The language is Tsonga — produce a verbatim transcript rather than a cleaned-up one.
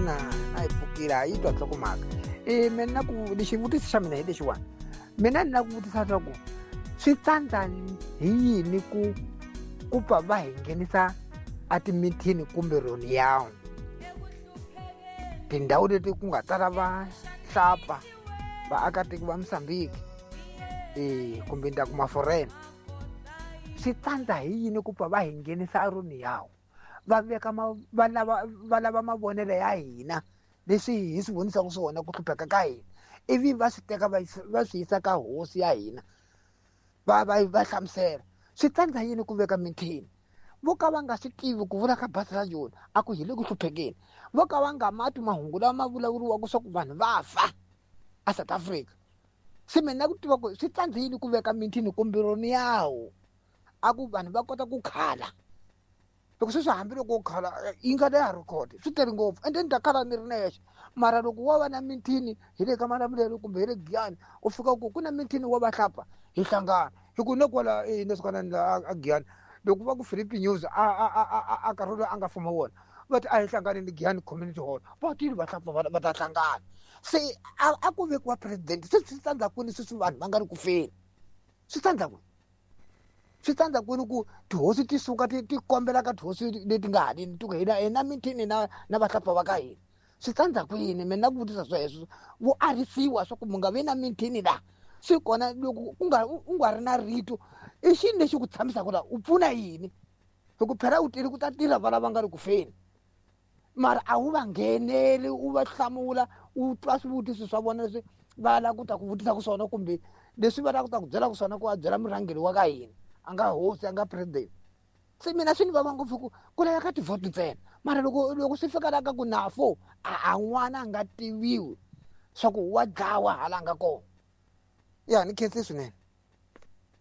na na hi pfukile a yi twa nhlokomhaka. E mina ku xivutiso xa mina hi lexiwani. Mina ni lava ku vutisa swa ku swi tsandza hi yini ku ku pfa va hi nghenisa a timithini kumbe roniyawu tindhawu leti ku nga tala vahlapfa vaakatiko va Mozambique eh kumbe ndhaku maforena swi tsandza hi yini ku pfa va hi nghenisa aroniyawu va veka va lava va lava mavonelo ya hina leswi hi swi vonisaka swona ku hlupheka ka hina ivi va swi teka va swi yisa ka hosi ya hina va va va hlamusela swi tsandza yini ku veka mithini vo ka va nga swi tivi ku vula ka bazi ra joni a ku hi le ku hluphekeni vo ka va nga mati mahungu lama ma vulavuriwaka swa ku vanhu va fa a South Africa se mina ku tiva ku swi tsandza yini ku veka mithini kumbe roniyawu a ku vanhu va kota ku khala loko sweswi hambiloko u khala yi nga leha record swi tele ngopfu ende ni ta khala ni ri nexe mara loko wa va na mithini hi le ka Malamulele kumbe hi le Giyani u fika ku ku na mithini wa vahlapfa hi hlangana hi ku ne kwala neswikanani la a Giyani loko va ku Philip News a a a a nkarhi lowu a nga fuma wona va ti a hi hlanganeni Giyani Community Hall va tile vahlapfa va ta hlangana se a a ku vekiwa president se swi tsandza kwini sweswi vanhu va nga ri ku feni swi tsandza kwini swi tsandza kwini ku tihosi ti suka ti ti kombela ka tihosi leti nga haleni ti ku hina hina mithini na na vahlapfa va ka hina swi tsandza kwini mina ku vutisa sweswo vo arisiwa swa ku mu nga vi na mithini la swi kona loko u nga u nga ri na rito i xini lexi ku tshamisaka la u pfuna yini hi ku phela u tile ku ta tirha va lava nga ri ku feni mara a wu va ngheneli u va hlamula u twa swivutiso swa vona leswi va lava ku ta ku vutisaka swona kumbe leswi va lava ku ta ku byelaka swona ku a byela murhangeri wa ka hina a nga hosi a nga president se mina swi ni vava ngopfu ku ku laveka tivhoti ntsena mara loko loko swi fika la ka ku nafo a a n'wana a nga tiviwi swa ku wa dlawa hala nga kona ya ni khensi swinene.